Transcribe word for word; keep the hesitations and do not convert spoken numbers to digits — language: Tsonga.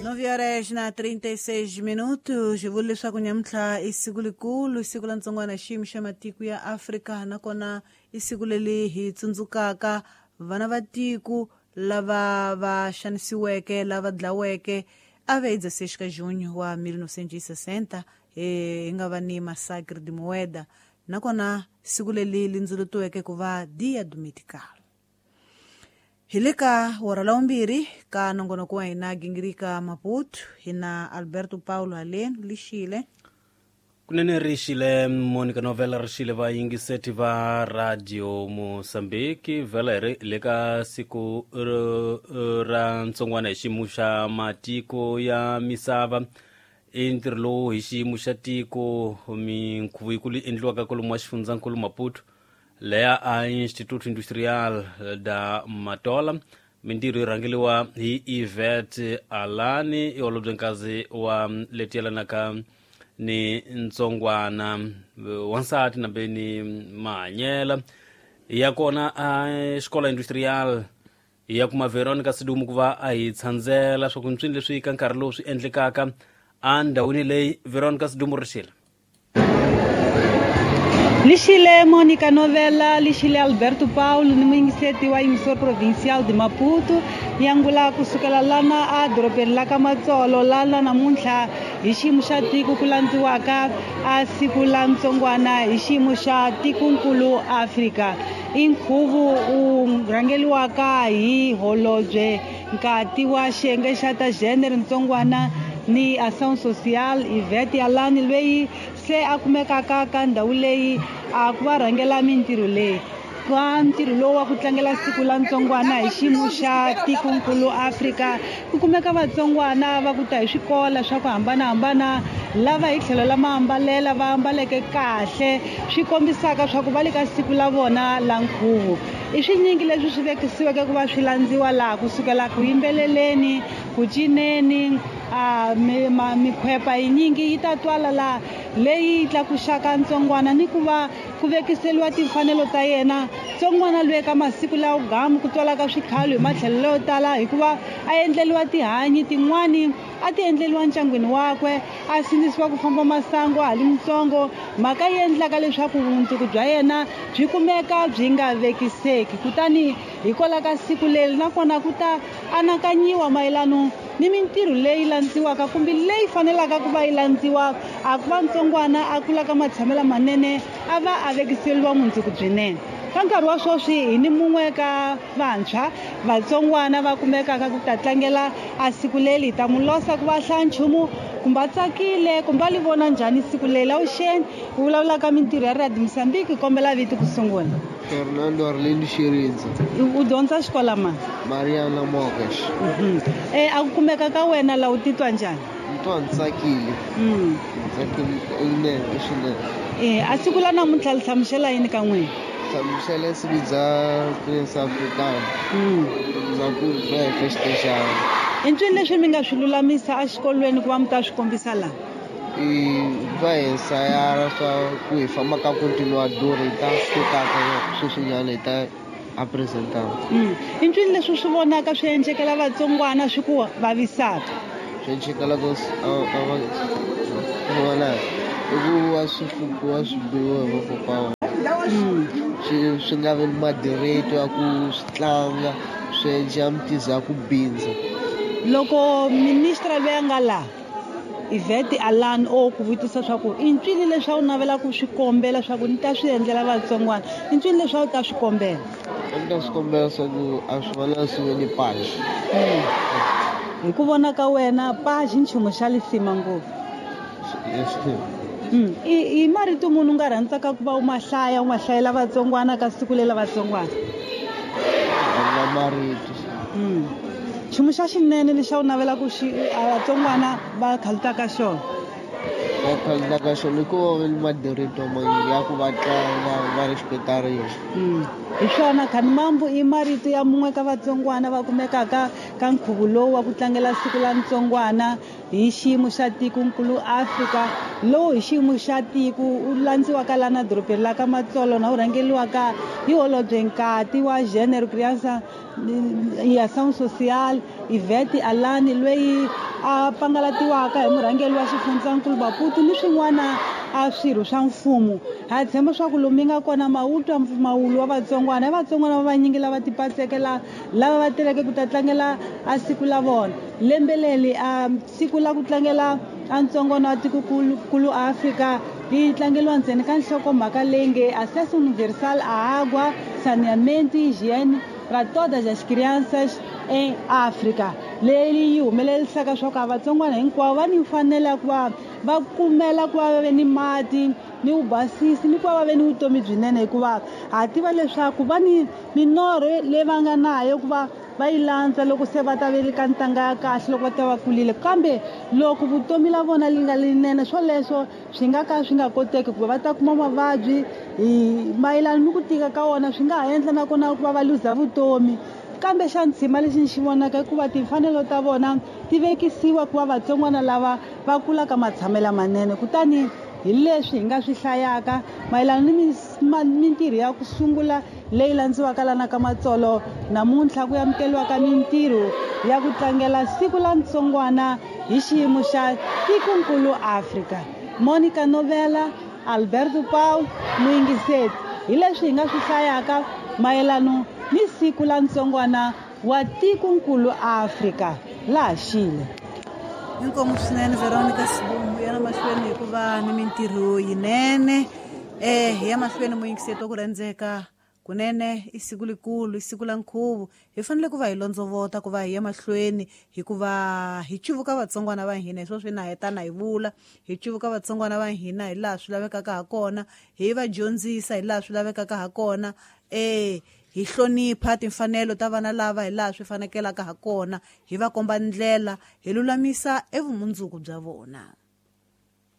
Nove horas na trinta e seis minutos. Vula leswaku nyamuntlha i siku likulu, siku la ntsongwana xiyimo xa matiko ya Afrika, nakona i siku leri hi tsundzukaka vana va tiko lava va xanisiweke, lava dlaweke a vez dezesseis de junho wa mil novecentos e sessenta, hi nga va ni massacre de Moeda, nakona siku leri li ndzulutiweke ku va Dia do Medical. Hi le ka hora la vumbirhi ka nongonoko wa hina Gingirika Maputo, hi na Alberto Paulo haleni lixile. Kunene rixile Monica Novela, rixile vayingiseti va Radio Mozambique. Vhela hi ri le ka siku ra ntsongwana hi xiyimo xa matiko ya misava. I ntirho lowu hi xiyimo xa tiko minkhuvo yikulu yi endliwaka kwalomu wa xifundzankulu Maputo, leya a Instituto Industrial da Matola. Mintirho yi rhangeriwa hi Yvette Alani, i holobyenkazi wa leti yelanaka ni ntsongwana wansati nambe ni mahanyela ya kona a xikola industrial ya kuma Veronica Sidumu ku va a hi tshandzela swa ku ntswini leswi ka nkarhi lowu swi endlekaka endhawini leyi. Veronica Sidumu, rixile. Lixile Monica Novela, lixile Alberto Paulo ni muyingiseti wa emissor provincial de Maputo, yangula kusukela lana a dorobeni la ka Matsolo, lana namuntlha hi xiyimo xa tiko ku landziwaka a siku la ntsongwana hi xiyimo xa tikonkulu Afrika. I nkhuvo wu rhangeliwaka hi holobye nkati wa xiyenge xa ta gender ntsongwana ni ação social Yvette Alani, loyi se a kumekaka ka ndhawu leyi a ku va rhangela mintirho leyi. Ka ntirho lowu wa ku tlangela siku la ntsongwana hi xiyimo xa tikonkulu Afrika, ku kumeka vatsongwana va ku ta hi swikola swa ku hambanahambana, lava hi tlhelo la maambalela va ambaleke kahle, swi kombisaka swa ku va le ka siku la vona la nkhuvo. I swinyingi leswi swi vekisiweke ku va swi landziwa laha, kusukela ku yimbeleleni, ku cineni, a mikhwepa yinyingi yi ta twala laha leyi tlakuxaka ntsongwana ni ku va ku vekiseliwa timfanelo ta yena. Ntsongwana loyi ka masiku lawa gamu ku twalaka swikhalo hi matlhelo yo tala, hikuva a endleliwa tihanyi tin'wani a ti endleliwa ndyangwini wakwe, a sindzisiwa ku famba masangu a ha li mutsongo, mhaka yi endlaka leswaku vumundzuku bya yena byi kumeka byi nga vekiseki. Kutani hikwalaho ka siku leri nakona ku ta anakanyiwa mayelano ni mintirho leyi landziwaka kumbe leyi fanelaka ku va yi landziwa a ku va ntsongwana a kula ka matshamelo manene, a va a vekiseliwa mundzuku byinene. Ka nkarhi wa sweswi hi ni mun'we ka vantshwa vatsongwana va kumekaka ku ta tlangela a siku leri, hi ta mu losa ku va hlaya nchumu kumbe a tsakile kumbe a li vona njhani siku leri. Awuxeni, u vulavulaka mintirho ya Radio Mozambique, kombela vito ku sungula. Fernando Arlindo Shirinza. U dyondza xikola mani? Mariana Mokesh. E a ku kumeka ka wena la u titwa njhani? Ni twa ni tsakile. Ni tsakile swinene swinene. E a siku la namuntlha li hlamusela yini ka n'wina? Hlamusela siku bya Prince Africana. Bya ku va hi festejana. I ncini leswi mi nga swi lulamisa exikolweni ku va mi ta swi kombisa laha? I va hi ensayara swa ku hi famba ka continuador, hi ta swi kotaka sweswinyana hi ta a presentana. I ncini leswi swi vonaka swi endlekela vatsongwana swi ku vavisaka? Swi endlekelaka vona i ku va swi hlukiwa swi biwa hi vakokwana, swi swi nga vi ni madireti ya ku swi tlanga, swi endla mitiza ya ku bindza. Loko ministra loyi a nga laha Yvette Alan o ku vutisa swa ku i ncini leswi a wu navela ku swi kombela swa ku ni ta swi endlela vatsongwana, i ncini leswi a wu ta swi kombela? A ni ta swi kombela swa ku a swi fanele swi ve ni page. Hi ku vona ka wena page i nchumu xa lisima ngopfu. I marito munhu u nga rhandzaka ku va u ma hlaya, u ma hlayela vatsongwana ka siku leri la vatsongwana? A na marito. Nchumu xa xinene lexi a wu navela ku xi vatsongwana va khalutaka xona? Va khalutaka xona i ku va va ni madirito ya ku va tlanga va respectariwa. Hi swona Khanimambu i marito ya mun'we ka vatsongwana va kumekaka ka nkhuvo lowu wa ku tlangela siku la ntsongwana hi xiyimo xa tikonkulu Afrika, lowu hi xiyimo xa tiko wu landziwaka lana dorobeni la ka Matsolo na wu rhangeliwaka hi holobye nkati wa Gênero, Criança e Ação Social Ivete Alani, loyi a pangalatiwaka hi murhangeri wa xifundzankulu Maputo ni swin'wana a swirho swa mfumo. Ha tshemba swa ku lomu nga kona mawutwa mpfumawulo wa vatsongwana, vatsongwana va vanyingi lava tipatsekela lava va teleke ku ta tlangela a siku la vona. Lembe leri a siku la ku tlangela a ntsongwana wa tikokulu Afrika yi tlangeriwa ntsena ka nhlokomhaka leyi nge Acesso Universal à Água, Saneamento e Higiene para todas as crianças em África. Leyi yi humelerisaka swa ku a vatsongwana hinkwavo va ni mfanelo ya ku va va kumela ku va va ve ni mati ni vubasisi ni ku va va ve ni vutomi byinene, hikuva ha tiva leswaku va ni minorho leyi va nga nayo ku va va yi landza loko se va ta ve ka ntanga ya kahle loko va ta va kulile. Kambe loko vutomi la vona li nga linene, swoleswo swi nga ka swi nga koteki ku va ta kuma mavabyi hi mayelana ni ku tika ka wona, swi nga ha endla nakona ku va va luza vutomi. Kambe xa ntshima lexi ni xi vonaka i ku va timfanelo ta vona ti vekisiwa ku va vatsongwana lava va kulaka matshamelo manene. Kutani hi leswi hi nga swi hlayaka mayelana ni mintirho ya ku sungula leyi landziwaka lana ka Matsolo namuntlha ku amukeriwaka mintirho ya ku tlangela siku la ntsongwana hi xiyimo xa tikonkulu Afrika. Monica Novela, Alberto Paul, muyingiseti, hi leswi hi nga swi hlayaka mayelana ni siku la ntsongwana wa tikonkulu Afrika laha Xile. Inkomu swinene Veronica Sibumbu, yana mahlweni hikuva ni mintirho yinene. Eh ya mahlweni muyingiseti wa ku rhandzeka kunene i siku likulu, i siku la nkhuvo. Hi fanele ku va hi londzovota ku va hi ya mahlweni hikuva hi cuvuka vatsongwana va hina, hi swo swi na heta na hi vula, hi cuvuka vatsongwana va hina hi laha swi lavekaka ha kona, hi va dyondzisa hi laha swi lavekaka ha kona, eh hi hlonipha timfanelo ta vana lava hi laha swi fanekelaka ha kona, hi va komba ndlela, hi lulamisa evumundzuku bya vona.